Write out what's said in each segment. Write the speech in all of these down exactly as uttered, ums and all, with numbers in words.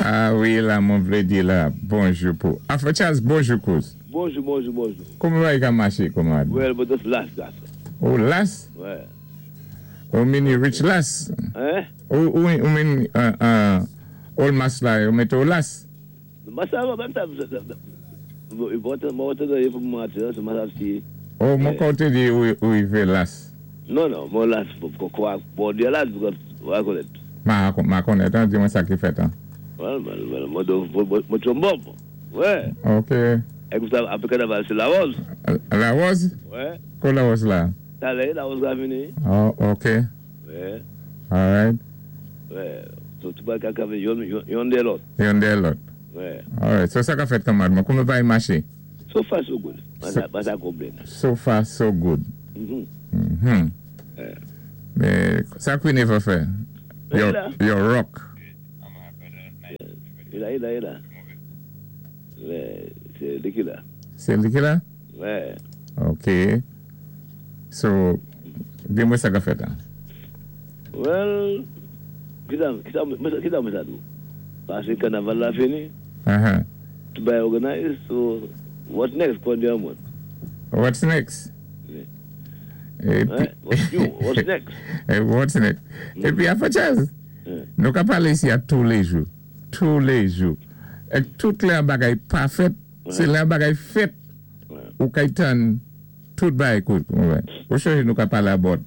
Ah wi, la, mwen vlé di la, bonjou pou. Afro Charles, bonjou kouz. Bonjou, bonjou, bonjou. Kouman bagay ka maché, kanmarad? Well, but that's last, last. Ou las? Wè. Ou mini rich las? Hein? Ou, ou, ou min, uh, uh, ol mas la, ou mété ou las? Mwen sa, mwen sa, mwen te pou mwen ati, mwen sa si. Ou mwen koté di ou, ou i vé las? Non, non, mwen las, kwa, bon di las, mwen konèt. Ma, ma konèt, an, di mwen sa ki fèt, an. Well, well, mwen mwen tchombob. Wè. Ok. Ek sa, apé kanaval, sé Larose. Larose? Wè. Ko Larose la? Talè, Larose la vini. Oh, ok. Wè. Alright. Wè. Tout bagay ka vini, yon, yon dè lòt. Yon dè lòt. Wè. Alright, so sa ka fèt kanmarad mwen, kouman bagay maché? So far so good. Mwen sa konplenn. So far so good. Mhm. Mhm. Mé, sa Queen Eva fè? Your, your rock. I la, i la, i la. Wè, sé li ki la. Sé li ki la? Wè. Ok. So, di mwen sa ka fèt an? Well, ki sa, ki sa, ki sa mwen sa dou? Pasé kanaval la fini. Uh-huh. Tout bagay organize, so, what next, kwa di an mwen? What's next? Yeah. What's new? What's next? What's next? Épi, Afro Charles, nou ka palé isi a tou lé jou. Tou lé jou. Ek tout lè an bagay pa fèt, sé lè an bagay fèt, ou kay tann tout bagay kout. Ou chanje nou ka palé about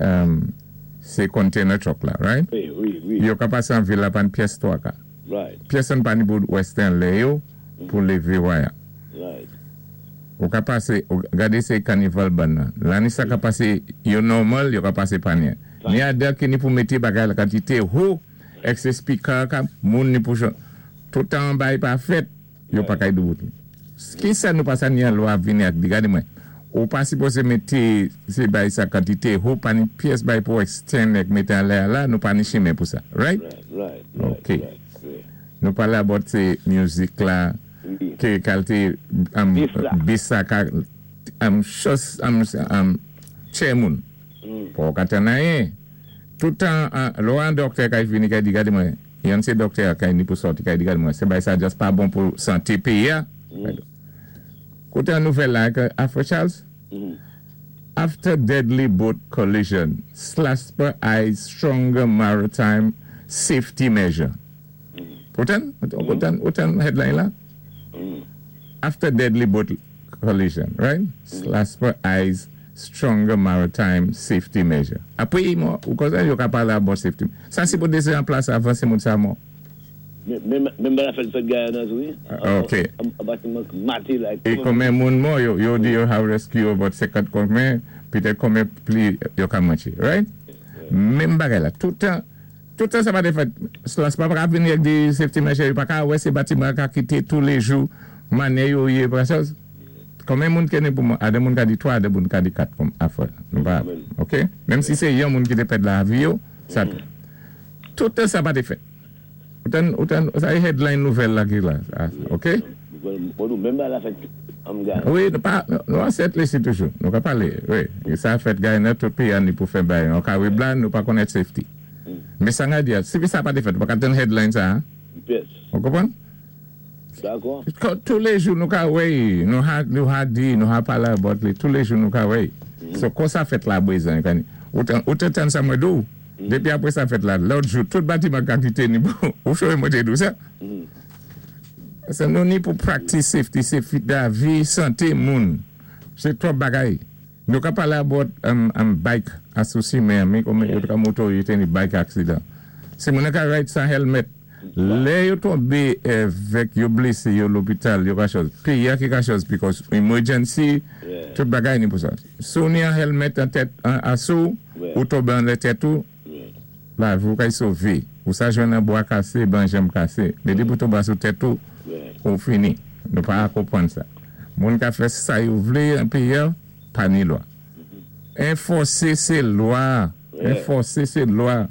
um, sé container truck la, right? Wi, wi, wi. Yo ka pasé an vil la pan pyès twa ka. Right. Pyès an pa ni pou Western lè yo, pou lévé waya. Right. Ou ka pasé, ou gadé sé kanival ban nan. Lanni sa ka pasé, yo normal, yo ka pasé panyen. Ni a dè ki ni pou mété bagay la kantité ho, ek sé speaker ka, moun ni pou chan. Toutan bagay pa fèt, yo pa kay doubout. Ki sa nou pa sa ni an lwa vini ak di, gade mwen. Ou pa sipozé mété sé bagay sa kantité ho, pa ni pyès bagay pou extend ek mété an lè la, nou pa ni chimen pou sa. Right? Right, right, right. Ok. Right, right. Nou pale about sé music la, Wi. ke kalte um, Bis la. bis sa ka um, chos um, um, tché moun. Mm. Pou ka tann anyen. Toutan, uh, lò an doktè kay vini kay di gade mwen, yon sé doktè kay ni pou soti kay di gade mwen, sé bagay sa just pa bon pou santé péyi a. Mm. Koté an nouvèl la, ke Afro Charles, Mm. After deadly boat collision, SLASPA eyes stronger maritime safety measure. Ou tann? Ou tann, ou tann headline la? Mm. After deadly boat collision, right? SLASPA eyes stronger maritime safety measure. Apwé, mò, ou konsa yo ka palé about safety. Sa sipozé an plas avan sé moun sa mò. Menm menm la fèt fèt Guyana wi. Ah, ok. A batiman maté la. É konmen moun mò, yo, yo di yo have rescue about senkant konmen, pitèt konmen pli yo ka manché, right? Menm bagay la, toutan, toutan sa pa té fèt, SLASPA pa ka vini ak di safety measure, yo pa ka wè sé batiman ka kité tou lé jou, manè yo yé pra sa. Konmen moun ki ni pou mò, a dé moun ka di twa, a dé moun ka di kat kom afè. Nou pa, ok? Menm si sé yon moun ki té pèd lavi yo, sa, toutan sa pa té fèt. Ou tann, ou tann, sa é headline nouvèl la ki la, ah, ok? Bon, nou menm la fèt am Guyana. Wi, nou pa, nou an sèt lé si toujou. Nou ka palé, wi. Sa fèt Guyana, tout péyi an ni pou fè bagay. Nou ka wè blan, nou pa konèt safety. Mé sa nga di ya, si sa pa té fèt, ou pa ka tann headline sa, hein? Yes. Ou konpwann? Dakò. Tou lé jou nou ka wè, nou ha, nou ha di, nou ha palé about li, tou lé jou nou ka wè. So, kon sa fèt la bwezan, kani, ou tan, ou te tann sa mwen dou, dépi apwé sa fèt la, lòt jou, tout batiman ka kité ni pou, ou choué mwen té dou sa. Sa nou ni pou practice safety, safety da vi, santé moun. Sé twòp bagay. Nou ka palé about um, um, bike asousi men, mi kome yo ka moto yo té ni bike accident. Si moun ka ride san helmet, lè yo tonbé évèk yo blésé yo lopital, yo ka chòz. Péyi a ki ka chòz because emergency, Yeah. tout bagay ni pou sa. Sou ni an helmet an tèt, an asou, Ouais. ou tonbé an lè tèt ou, Yeah. la vi ou kay sové. Ou sa jwenn an bwa kasé, ban janm kasé. Mé di pou tonbé sou tèt ou, Yeah. ou fini. Nou pa konpwann sa. Moun ka fè sa yo vlé an péyi a, pa ni lwa. Enfòsé sé lwa. Ouais. Enfòsé sé lwa.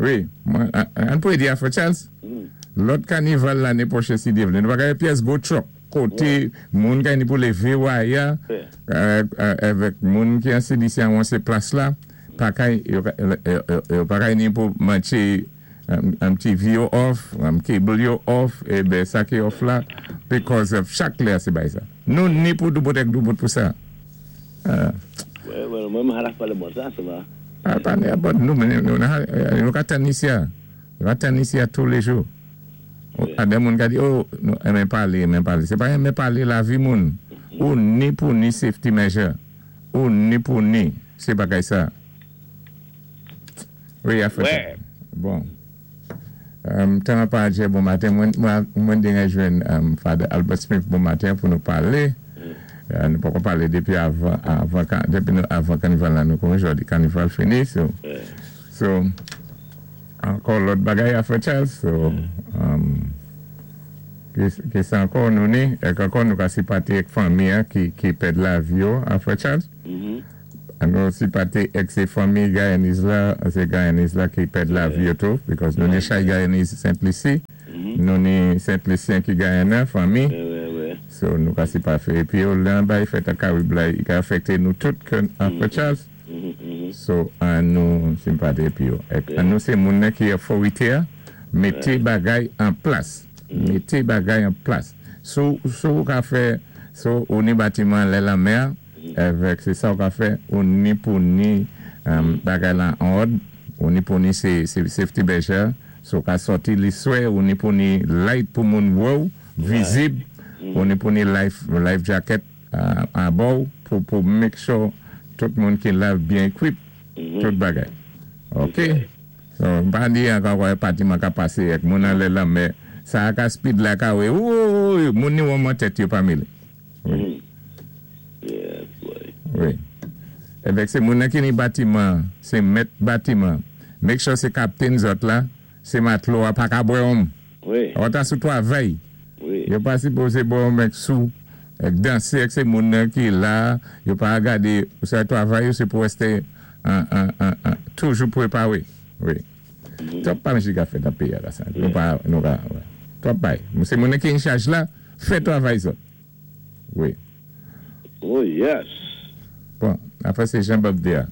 Wi, mwen, an, an pou di Afro Charles, Mm. lòt kanival lanné pwochen si Dye vlé. Nou pa ka pyès gwo truck koté moun kay ni pou lévé waya, Ouais. euh, euh, avèk moun ki an C D C an sé plas la, pa kay, yo, yo, yo, yo pa kay ni pou manché Um, T V yo off, um, cable yo off, é ben sa ki off la, because of chak lè sé bay sa. Nou ni pou doubout èk doubout pou sa. Uh, Ouais, ouais, mwen mwen haraf palé bon sa, sa va. Ah, pa ni about nou, men nou, nou ka tann isi a. Nou ka tann isi a tous les jours. A den moun ka di, "Oh, nou enmen palé, enmen palé." Sé pa enmen palé lavi moun. Ou ni pou ni safety measure. Ou ni pou ni, sé bagay sa. Wi, a fè. Ouais. Bon. Um, tan pa adjè bon maten, mwen, mwen, mwen denye jwenn um, Father Albert Smith bon maten pou nou palé. Uh, nou poko palé depi avan, avan, depi nou avan kanival la nou kon jodi kanival fini, so, so, ankò lòt bagay a fè Charles, so, um, ki, ki sa ankò nou ni, èk ankò nou ka sipati èk fanmi an ki, ki pèd lavi yo a fè Charles. Mhm. An nou sipati èk sé fanmi Guyanese la, sé Guyanese la ki pèd lavi yo tou, because nou ni chay Guyanese Saint Lucie, nou ni Saint Lucien ki Guyana, fanmi, Ouais, ouais, ouais. so nou ka sipati. Epi yo lan bay fèt a Karib la, i ka afekte nou tout kon a fè Charles. Mhm, mhm. So, an nou simpate epi yo. Ek, an nou sé moun nan ki otorité a, mété bagay an plas. Mété bagay an plas. So, so ou ka fè, so ou ni batiman lè lanmè, avèk sé sa ou ka fè, ou ni pou ni um, bagay lan an òd, ou ni pou ni sé, sé safety measure, so ka sòti li swè, ou ni pou ni light pou moun wè ou, vizib, ou ni pou ni life, life jacket uh, a bò, pou, pou make sure tout moun ki la byen equip, tout bagay. Ok? So, pa di ankò kwa batiman ka pasé ek moun an lè lanmè, sa a ka speed la ka wè, ou, moun ni wè tèt yo pa mélé. Wi. Mhm. Yeah, boy. Wi. Evèk sé moun nan ki ni batiman, sé mèt batiman, make sure sé kaptenn zòt la, sé matlo a pa ka bwè wonm. Wi, Ou ta sou twavay. wi. Yo pa sipozé bwè wonm èk sou, èk dansé èk sé moun nan ki la, yo pa gadé, ou sa twavay yo sé pou èsté an, an, an, an, toujou pwépawé. Wi. Twòp pa mèsi ka fè dan péyi a la sa. Nou pa, nou ka, wè. Twòp bay. Sé moun nan ki an chaj la, fè twavay zòt. Wi. Oh, yes. Bon, apwé sé Jean Bob Dia.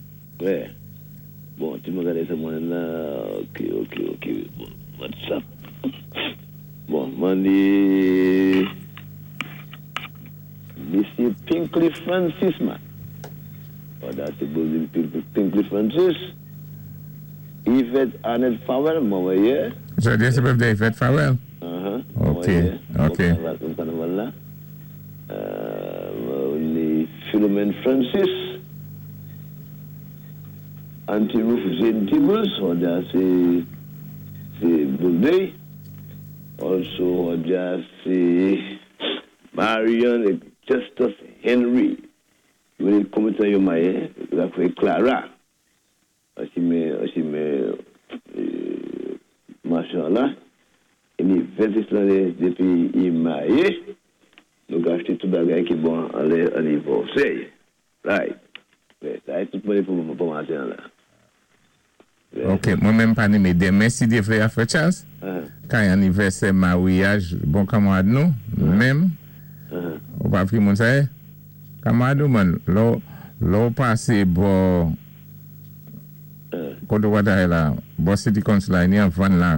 Ouais. Bon, tu me regardes ça, moi, là. Ok, ok, ok. Bon, what's up? Bon, mwen di Misye Pinkley Francis, man. Oh, that's the building, Pinkley Francis. Yvette Arnett Fowell, mwen wè. Jodi sé birthday Yvette Fowell? Uh-huh. Ok, ok. Bon, kanaval la. Euh, mwen ni Philomene Francis. Auntie Ruth Jane Tibbles, oh, that's a, c'est birthday. Also, oh, that's Marion Justus Henry. Mwen komite yo maye, la fwe Clara. Asi me, asi me, machan la. E ni vensis lanné depi i maye, nou ka achté tout bagay ki bon an lè anivèsè. Right. Sa é tout mwen pou pou maten la. Ok, mwen menm pa ni mé denmen si Dye vlé a fè Charles, kay anivèsè maryaj, bon kanmarad nou, menm, ou pa fri moun sa é? Kanmarad ou man, lò, lò pasé bò, koto wata é la, bò City Council la, ni an van la,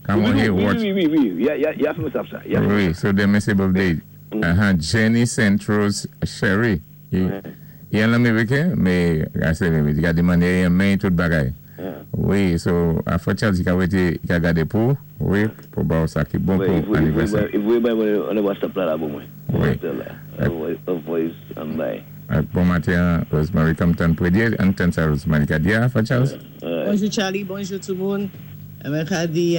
kamon he watch. Wi, wi, wi, wi, ya fè mwen sap sa. Wi, so denmen sé birthday. Aha, Jenny Saint Rose Sherry. I an l'Amerike, mé, ase, di ka demandé yon men tout bagay. Wi, so, a fò Charles, i ka wété, i ka gadé pou, wi, pou ba ou sa ki bon pou anivèsè. I voyé bay mwen an WhatsApp la la pou mwen. Wi. A voice an bay. Bon maten, Rosemary Compton Predier, an ten sa Rosemary ka di a, fò Charles? Bonjou Charlie, bonjou tout moun. Mwen ka di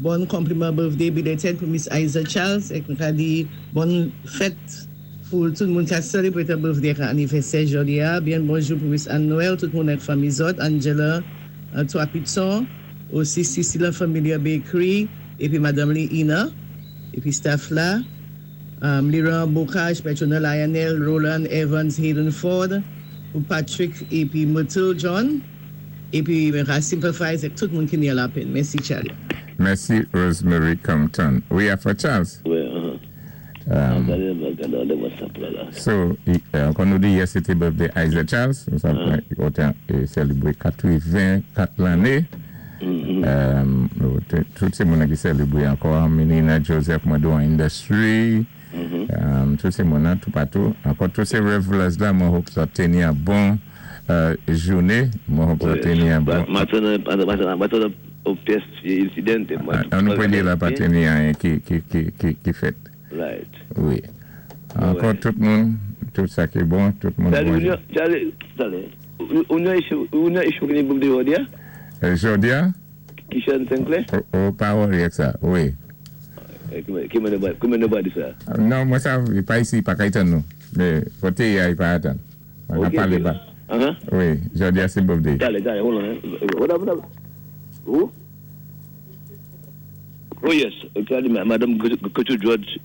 bon compliment birthday belated pou Miss Isaac Charles, ek mwen ka di bon fèt pou tout moun ka celebrate birthday ka anivèsè jodi a. Byen bonjou pou Miss Anne Noël, tout moun ek fanmi zòt, Angela, Toi Pitson, osi Cecilia Familia Bakery, epi Madame Lee Ina, epi staff la, um, Liran Bocage, Petrona Lionel, Roland Evans, Hayden Ford, pou Patrick, epi Myrtle John, epi mwen ka sympathize ek tout moun ki ni a la pen. Mèsi Charlie. Mèsi Rosemary Compton. Wi, a fò Charles. Wi, uh-huh. Um, Gade WhatsApp la la. So, kon nou di yè se té birthday Isaac Charles, nou sa otan selebre katreven kat lanné. Um, tout sé moun ki sélébwé ankò, Menina Joseph mwen do industry, um, tout sé moun tout patou. Ankò tout sé revelers la, mwen hope sa téni an bon euh, jouné, mwen hope sa téni an bon. Maten ou pyès incident. An nou pwé di la pa téni anyen ki, ki, ki, ki, ki fèt. Right. Wi. Ankò tout moun, tout sa ki bon, tout moun bonjou. Charlie, Charlie, ou nan issue ki ni birthday jòdi a? Jòdi a? Kishan Sinclair? Ou pa worry ak sa, wi. Ki mwen nou ba di sa? Non, mwen sa, pa isi, pa ka itan nou. Mé, koté ya, i pa atan. Mwen ka palé ba. Wi, jòdi a sé birthday. Charlie, Charlie, hold on. What up, what up? Who? Oh yes, Charlie, Madame Gertrude George,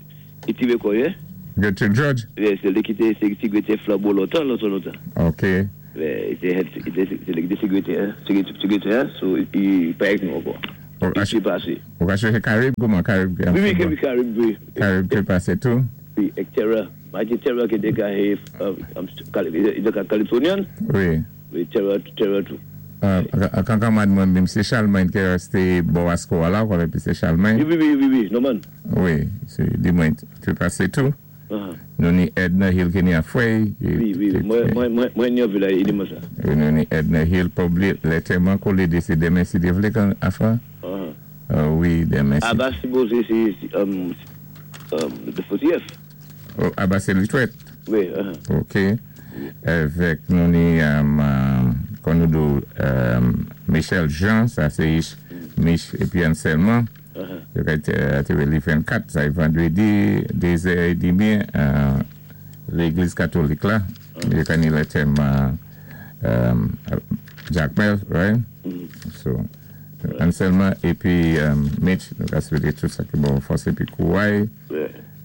iti ve koye? Gertrude George? Yes, sé li ki té sékrétè Flambeau lontan, lontan, lontan. Ok. Sé li ki té sékrétè, sékrétè, so i pa ek nou ankò. I pasé. Ou ka chèché Karib, kouman Karib? Wi, wi, Karib, wi. Karib té pasé tou? Wi, ek Terra. Mwen Terra ki té ka Californian? Wi. Wi, Terra, Terra tou. Kankan mad mwen, Msé Charlemagne ki resté bò Asko la, kwa Msé Charlemagne? Wi, wi, wi, wi, normal. Wi, sé di mwen té pasé tou. Nou ni Edna Hill ki ni a fwey. Wi, wi, mwen ni a vila, i di mwen sa. Wi, nou ni Edna Hill, pa blié, lantèman kou lé sé denmen si Dye vlé kan afa? Wi, denmen si. Aba sipozé sé the fortieth. Aba sé li twèt? Wi. Ok. Avèk nou ni, kon nou do Michel Jean, sa sé Mich épi Anselman. Yo ka té li vennkat, sa i vandwédi, dézè é dmi, légliz katolik la. Yo ka ni lantèman Jacmel, right? So, Anselman épi Mitch, nou ka swété tout sa ki bon fòs épi kouway.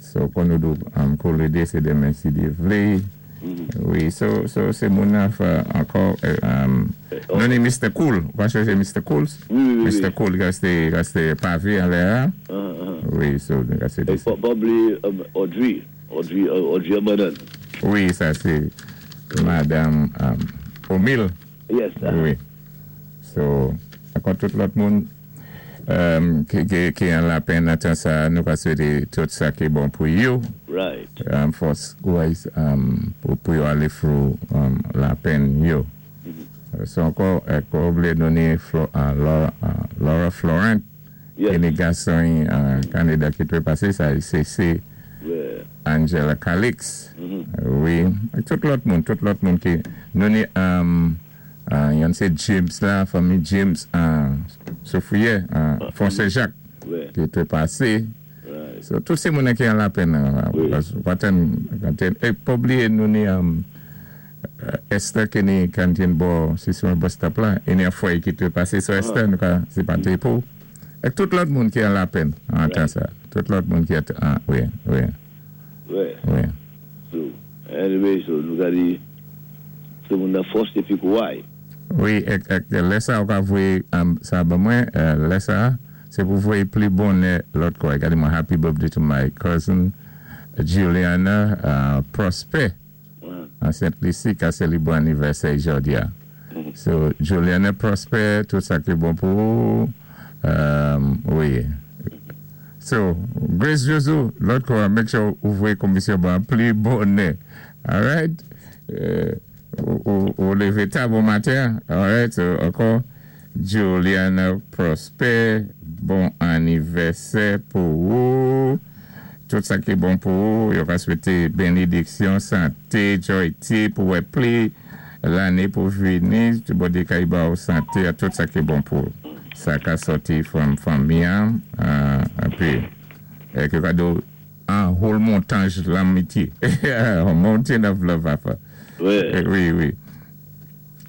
So, kon nou do kou lé dé, sé denmen si Dye vlé. Wi, so, so, sé moun afa ankò, nou ni Mister Cool, ou ka chèché Mister Cool? Wi, wi, wi. Mister Cool, ka sé, ka sé pavé an lè a. Wi, so, ka sé Pa blié Audrey, Audrey, Audrey Abadan. Wi, sa sé Madame Omil. Yes. Wi. So, ankò tout lòt moun ki an lapenn nan tan sa, nou ka swété tout sa ki bon pou yo. Right. Fòs pou yo alé through lapenn yo. So ankò, pa blié nou ni Laura Florent, ki ni gason Kanada ki té pasé, sa sé sé Angela Calix. Wi, tout lòt moun, tout lòt moun ki, nou ni, yon sé James la, fanmi James Soufrière, Fonse Jacques, ki té pasé. So, tout sé moun ki an lapenn, e pa blié nou ni Esther ki ni kantin bò, si sou bus stop la, e ni a fway ki té pasé, so Esther nou ka si pante pou. Ek tout lòt moun ki an lapenn, an tan sa. Tout lòt moun ki an, wi, wi. Wi. Wi. So, anyway, so nou ka di, tout moun nan fòs épi kouway. Wi, ek, ek, lè sa ou ka voyé sa ba mwen, lè sa, sé pou voyé pli bonè lòt kwa. Gade mwen, happy birthday to my cousin Juliana uh, Prosper. An Saint Lucie, ka sélébwé anivèsè jòdi a. So, Juliana Prosper, tout sa ki bon pou ou. Um, wi. So, Grace Josu, lòt kwa, make sure ou voyé komisyon ban pli bonè. Alright? Uh, ou, ou lévé ta bon maten. Alright? So, ankò, Juliana Prosper, bon anivèsè pou ou. Tout sa ki bon pou ou. Yo ka swété bénédiksyon, santé, joyti, pou wè pli lanné pou vini. Tout bon ka ba ou santé, tout sa ki bon pou ou. Sa ka sòti from fanmi an, épi, é ki kado an whole montage lanmitye. A mountain of love afa. Wi. Wi, wi.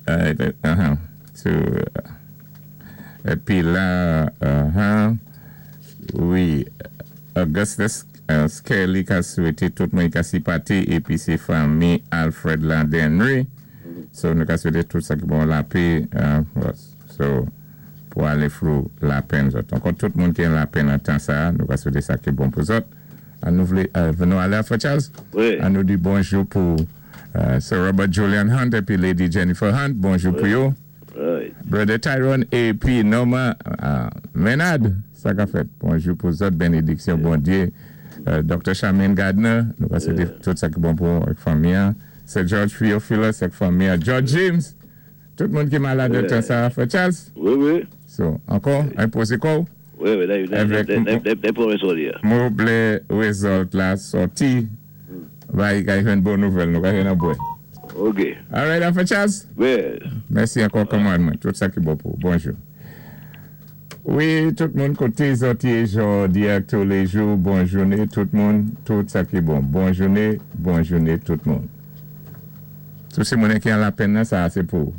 Uh, so, épi la, uh-huh, wi, Augustus Skelly ka swété tout moun ka sipati épi sé fanmi Alfred Landenry. So, nou ka swété tout sa ki bon lapè. So, pou alé through lapenn zòt. Ankò tout moun ki an lapenn an tan sa, nou ka swété sa ki bon pou zòt. An nou vlé, nou alé Alpha Charles? Wi. An nou di bonjou pou Sir Robert Julian Hunt épi Lady Jennifer Hunt. Bonjou pou yo. Right. Brother Tyrone épi Norma uh, Menard, sa ka fèt. Bonjou pou zòt, bénédiksyon, Bondyé. Uh, Docteur Charmaine Gardner, nou ka swété tout sa ki bon pou avèk fanmi. Sir George Theophilus avèk fanmi. George James, tout moun ki malad de tan sa, Frè Charles. Wi, wi. So, ankò, enpozé kò. Wi, wi, Avèk- des promesses. Mwen vlé result la sòti. Bay, kay yon bon nouvèl, nou kay yon bwè. OK. All right, Frè Charles. Wi. Mèsi ankò kòman mwen. Tout sa ki bon pou. Bonjou. Wi, tout moun koté zòt yé jòdi a toulèjou, bon jouné tout moun, tout sa ki bon. Bon jouné, bon jouné tout moun. Tout sé moun ki an lapenn sa sé pou.